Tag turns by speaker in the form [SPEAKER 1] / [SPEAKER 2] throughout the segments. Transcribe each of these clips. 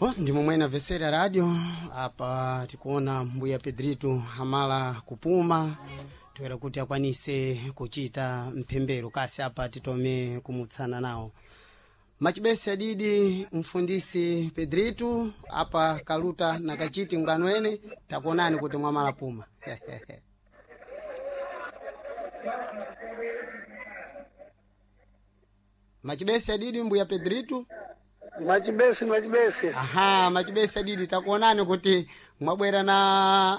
[SPEAKER 1] Oh, ndimo mwene amvesera radio apa tikuona mbuya Pedrito amala kupuma toera kuti akwanise kuchita mphembero kasi apa titome kumutsana nawo machibesi adidi mfundisi Pedrito apa kaluta na kachiti mngano ene takuonani kuti mwamala puma. Machibesi adidi mbuya Pedrito.
[SPEAKER 2] Machibesi, machibesi.
[SPEAKER 1] Aha, machibesi adidi takuonani kuti mwabwera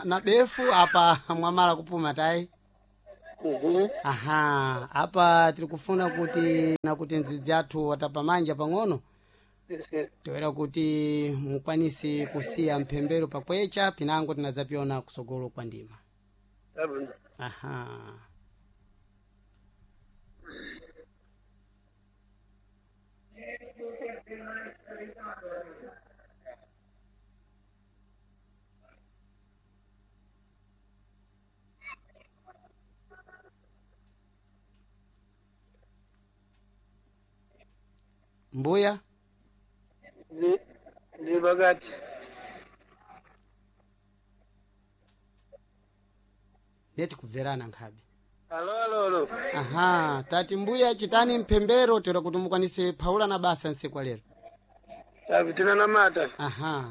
[SPEAKER 1] na befu apa mwamala kupuma tayi.
[SPEAKER 2] Mhm.
[SPEAKER 1] Aha, apa tiri kufuna kuti na kuti ndzidzi athu watapamanja pang'ono
[SPEAKER 2] Isi.
[SPEAKER 1] toera kuti mukwanise kusiya mphembero pakwecha pinango tinadzapiona kusogolo kwa ndima.
[SPEAKER 2] Tabu.
[SPEAKER 1] Aha. Mbuya
[SPEAKER 2] Ndi pakati.
[SPEAKER 1] neti kubverana nkhabe.
[SPEAKER 2] Alo, alo, alo.
[SPEAKER 1] Aha, tati mbuya chitani mphembero toera kuti mukwanise phawula na basa nsiku lero.
[SPEAKER 2] Tabu tinanamata.
[SPEAKER 1] Aha.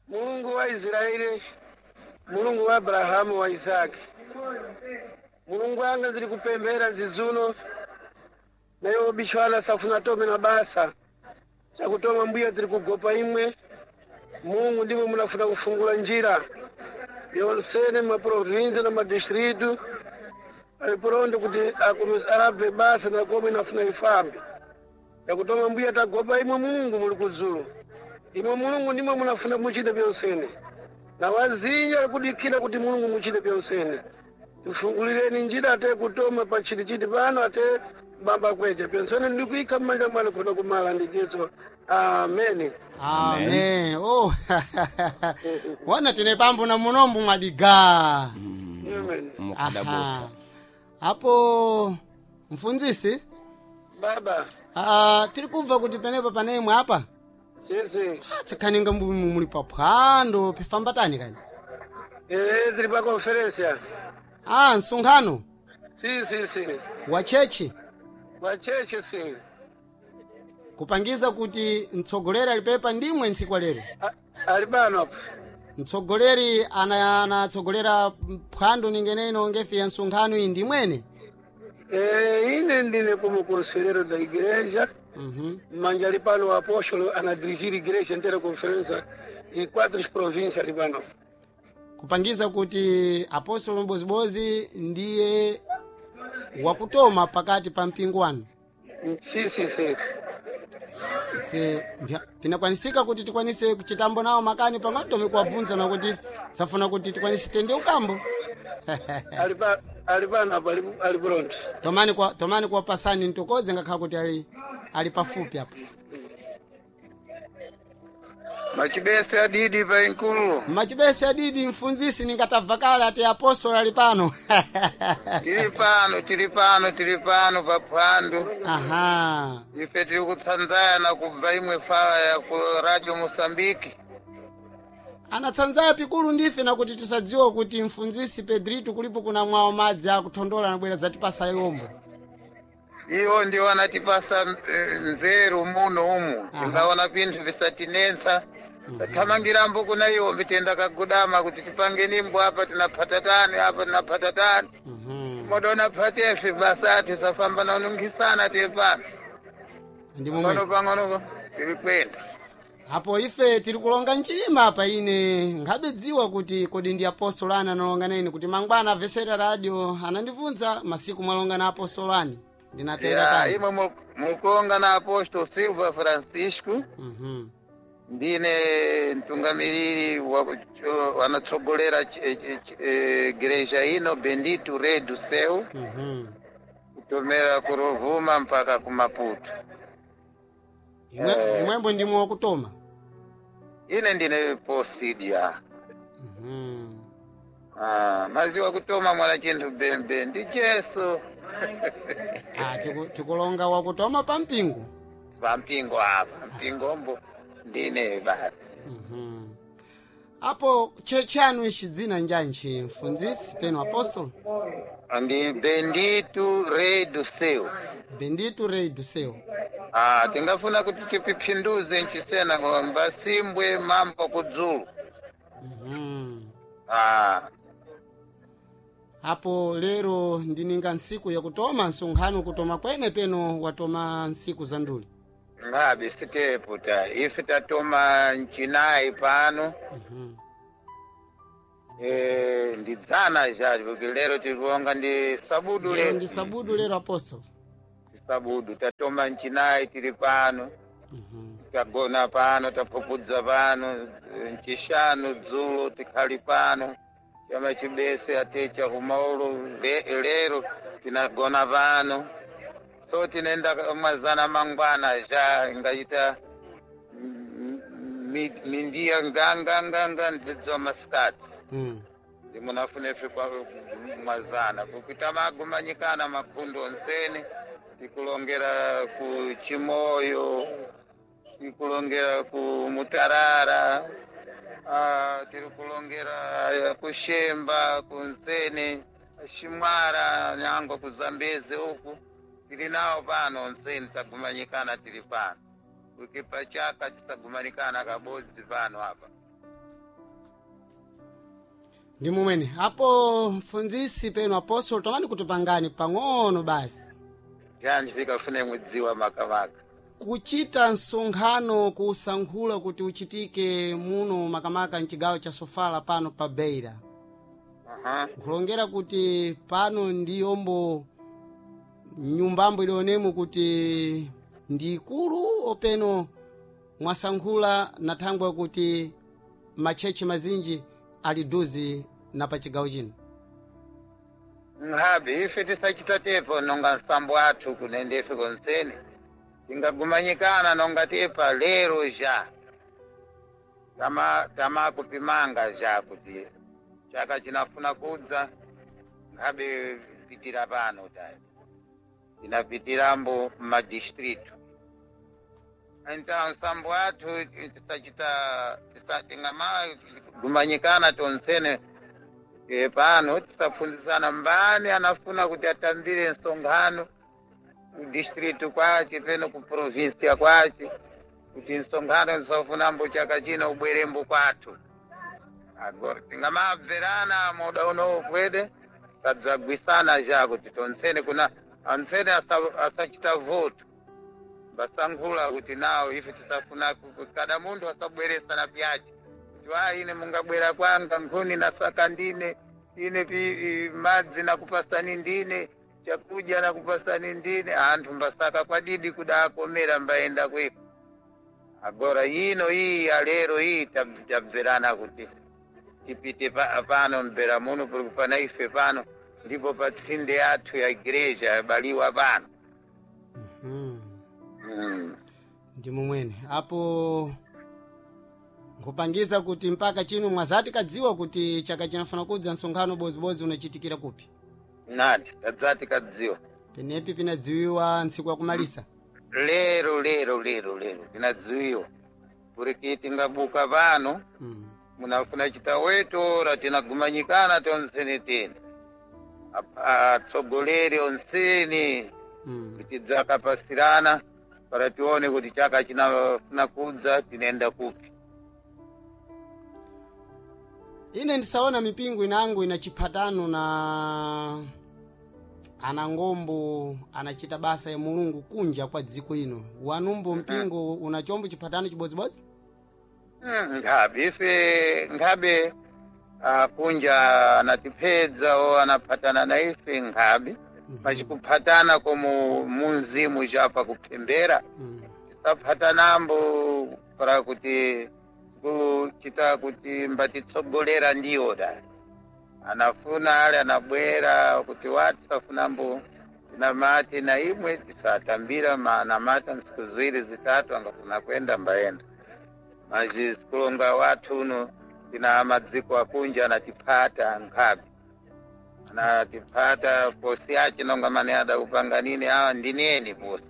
[SPEAKER 2] Mulungu wa Israeli, Mulungu wa Abrahamu wa Isaki. Mulungu anga zili kupembera zizuno nayo bishwana safuna tome na basa chakutoma mbuya tiri kugopa imwe. Mulungu ndimwe munafuna kufungula njira yonsene maprovinsi na madistritu aliporonde kuti arabve basa nakome inafuna ifambe yakutoma mbuya tagopa imwe. Mulungu muli kudzulu imwe. Mulungu ndimwe munafuna muchite pyonsene na wazinja alikudikira kuti Mulungu muchite pyonsene. Tifungulireni njira ate kutoma pa chitichiti pano ate bamba kweja pyonsene ndikuika mmanja mwanu kuno kumala ndi Jesu. Ameni.
[SPEAKER 1] Amen. Oh. Wana tine pambo na munombo mwadiga.
[SPEAKER 2] Amen.
[SPEAKER 3] Mukadabota.
[SPEAKER 1] Apo mfunzisi
[SPEAKER 2] Baba.
[SPEAKER 1] ah, tiri kubva kuti penepa panemwe apa
[SPEAKER 2] Sisi.
[SPEAKER 1] Ah, tsikhaninga muli paphwando pifamba tani kani.
[SPEAKER 2] Eh, tiri pa conferência.
[SPEAKER 1] Ah, msonkhano
[SPEAKER 2] Si, si, si.
[SPEAKER 1] wa chechi
[SPEAKER 2] Wa chechi si.
[SPEAKER 1] kupangiza kuti mtsogoleri alipepa ndimwe ntsiku lero.
[SPEAKER 2] Ali pano apa.
[SPEAKER 1] Mtsogoleri anatsogolera phwando ningeneno ngefi ya msonkhano iyi ndimwene.
[SPEAKER 2] Eh, ine ndine como conselheiro da igreja.
[SPEAKER 1] Mhm.
[SPEAKER 2] Manja ali pano o apóstolo ana dirigir igreja inteira conferência em quatro províncias ali pano.
[SPEAKER 1] Kupangiza kuti apostolo Mbozibozi ndiye wakutoma pakati pa mpingo wanu.
[SPEAKER 2] Si, si, si.
[SPEAKER 1] Ife pinakwanisika kuti tikwanise kuchitambo nawo makani pang'ono tome kuwabvunza nakuti tsafuna kuti tikwanise tende ukambo.
[SPEAKER 2] Ali pa ali pano apa ali pronto.
[SPEAKER 1] Tomani kuwapasani ntokoze ngakhala kuti ali pafupi apa.
[SPEAKER 4] Machibesi adidi pa inkulu.
[SPEAKER 1] Machibesi adidi mfunzisi ningatabva kale ati apostolo ali pano.
[SPEAKER 4] Tiri pano, tiri pano, tiri pano pa phwando.
[SPEAKER 1] Aha.
[SPEAKER 4] Ife tiri kutsanzana kubva imwe fala ya ku Radio Mosambiki.
[SPEAKER 1] Anatsanzaya pikulu ndife nakuti tisadziwa kuti mfunzisi Pedrito kulipo kuna mwawo madzi akuthondola nabwera zatipasa yombo.
[SPEAKER 4] Iwo ndiwo anatipasa nzeru muno umu. Tingaona pinthu visatinensa. Tathamangirambo kuna iwo mbitenda kagudama kuti tipange nimbo apa tinaphatatani apa tinaphatatani.
[SPEAKER 1] Mhm.
[SPEAKER 4] Modona phatefe basa athu safamba nanungisana tiri pano.
[SPEAKER 1] Ndi momwe.
[SPEAKER 4] Pano pang'ono tiri kwenda.
[SPEAKER 1] Apo ife tiri kulonga mchilima apa ine nkhabedziwa kuti kodi ndi apostolo ani analonga nene kuti mangwana amvesera radio anandibvunza masiku mwalonga na apostolo ani ndinatera
[SPEAKER 4] Ya,
[SPEAKER 1] tani.
[SPEAKER 4] imwe mukonga na apostolo Silva Francisco.
[SPEAKER 1] Mhm.
[SPEAKER 4] Ndine mtungamiriri wanatsogolera igreja ino Bendito Rei do Céu.
[SPEAKER 1] Mhm.
[SPEAKER 4] Kutomera ku Rovuma mpaka ku Maputo.
[SPEAKER 1] Imwembo ndimwe wakutoma.
[SPEAKER 4] Ine ndine posidia.
[SPEAKER 1] Mhm.
[SPEAKER 4] Ah, maziwa kutoma mwana chinthu bembe ndi Jesu.
[SPEAKER 1] Ah, tikulonga wakutoma pa mpingo.
[SPEAKER 4] Pa mpingo apa mpingombo. Ndine basi.
[SPEAKER 1] Apo chechanu ishi dzina njanji mfunzisi peno apostolo?
[SPEAKER 4] Ndi Benditu Rei do Céu.
[SPEAKER 1] Bendito Rei do Céu.
[SPEAKER 4] Ah, tingafuna kuti tipiphinduze nchisena ngomba simbwe mambo kudzulu. Ah.
[SPEAKER 1] Apo lero ndininga ntsiku yakutoma msonkhano, kutoma kwene peno watoma ntsiku za nduli?
[SPEAKER 4] Ngabe sitepo ta ife tatoma nchinayi pano. Ndidzana zhacho kuti lero tikuonga ndi sabudu.
[SPEAKER 1] Lero
[SPEAKER 4] Lero
[SPEAKER 1] ndi sabudu lero, apostolo.
[SPEAKER 4] Sabudu tatoma nchinayi tili pano. Tagona pano, tapupudza pano, nchishanu dzulo tikhali pano, chama chibese atecha kumaulu lero tinagona pano, so tinenda mwazana mangwana ja ingachita mindiya nganganganga ndzidzo masikati. Ndimunafuna ife kwa mwazana kukuita magumanyikana makhundu onsene, tikulongera ku Chimoyo, tikulongera ku Mutarara, tiri kulongera kuShemba, kuNsene, Shimwara, nyango kuZambezi uku tiri nawo pano onsene tagumanyikana tiri pano kukipa chaka tisagumanikana kabodzi pano apa.
[SPEAKER 1] Ndi mumwene apo mfunzisi peno apostolo, tomani kutipangani pang'ono basi.
[SPEAKER 4] Yanji vikafune mudziwa makamaka?
[SPEAKER 1] Kuchita msonkhano kusankhula kuti uchitike muno makamaka mchigawo cha Sofala pano pa Beira. Nkulongera kuti pano ndiyombo nyumbambo idionemo kuti ndi ikulu openo mwasankhula na thangwe kuti matchechi mazinji ali duzi na pa chigawo chino?
[SPEAKER 4] Nkhabe ife tisachita tepo nonga nsambo athu kunende ife konsene tingagumanyikana nonga tepa lero ja tama tamakupimanga ja kuti chaka chinafuna kudza nkhabe pitira pano tayi tinapitirambo mmadistritu. Então nsambo athu tisachita tingamagumanyikana tonsene pano tisapfunzisana mbani anafuna kuti atambire msonkhano ku distritu kwace peno ku provinsia kwace kuti msonkhano ndisafunambo chaka chino ubwerembo kwathu. Agora tingamabverana moda unowo kwede sadzagwisana ja kuti tonsene kuna ansene asachita voto basankhula kuti nawo ife tisafuna kada munthu asabweresana pyace kuti wa ine mungabwera kwanga nkhuni nasaka ndine, ine madzi nakupasani ndine, chakudya nakupasani ndine. Anthu mbasaka kwadidi kudakomera mbaenda kweko. Agora ino iyi ya lero iyi tabverana kuti tipite pano mbera muno pali pana ife pano ndipo pa tsinde yathu ya igreja yabaliwa pano.
[SPEAKER 1] Ndi mumwene apo nkupangiza kuti mpaka chino mwazati kadziwa kuti chaka chinafuna kudza msonkhano bozibozi unachitikira kupi?
[SPEAKER 4] Nati tadzati kadziwa.
[SPEAKER 1] Penepi pinadziwiwa ntsiku yakumalisa?
[SPEAKER 4] Lero lero lero lero tinadziwiwa kuti tingabuka pano. Munafuna chitawetora tinagumanyikana tonsene tene atsogoleri onsene kuti dzakapasirana para tione kuti chaka chinafuna kudza tinenda kupi.
[SPEAKER 1] Ine ndisaona mipingo inango ina chiphatano na anangombo anachita basa ya Mulungu kunja kwa dziko ino. Wanumbo mpingo una chombo chiphatano chibodzibodzi?
[SPEAKER 4] Nkhabe ife nkhabe kunja anatipedza o anaphatana na ife nkhabe pachikuphatana komo munzimu chapa kuphembera. Tisaphatanambo para kuti kuchita kuti mbatitsogolera ndiwo da anafuna ale anabwera kuti watisafunambo tinamati na imwe tisatambira manamata nsiku ziwiri zitatu angafuna kwenda mbaenda maji sikulonga wathu uno tina madziko akunja anatiphata nkhabe anatiphata posi yace nonga mane adakupanga nini awa ndineni posi.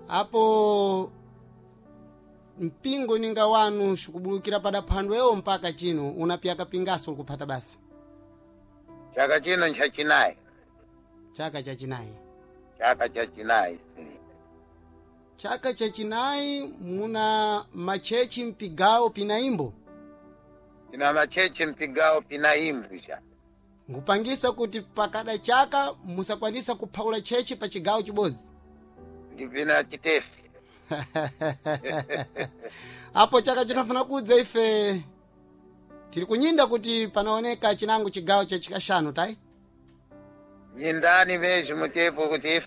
[SPEAKER 1] Apo Mpingo ninga wanu xikubulukira pada phandwewo mpaka chino unapyaka pingaso likuphata basa?
[SPEAKER 4] Chaka chino nchachinayi.
[SPEAKER 1] Chaka chachinayi.
[SPEAKER 4] Chaka chachinayi.
[SPEAKER 1] Chaka chachinayi muna machechi mpigawo pinaimbo?
[SPEAKER 4] Tina machechi mpigawo pinaimbo cha.
[SPEAKER 1] Nkupangisa kuti pakada chaka musakwanisa kuphawula chechi pa chigawo chibodzi?
[SPEAKER 4] Ndipina chitefi.
[SPEAKER 1] Apo chaka chinafuna kudza ife tiri kunyinda kuti panaoneka chinango chigawo cha chikashanu tayi.
[SPEAKER 4] Nyindani mezhi mutepo kuti ife.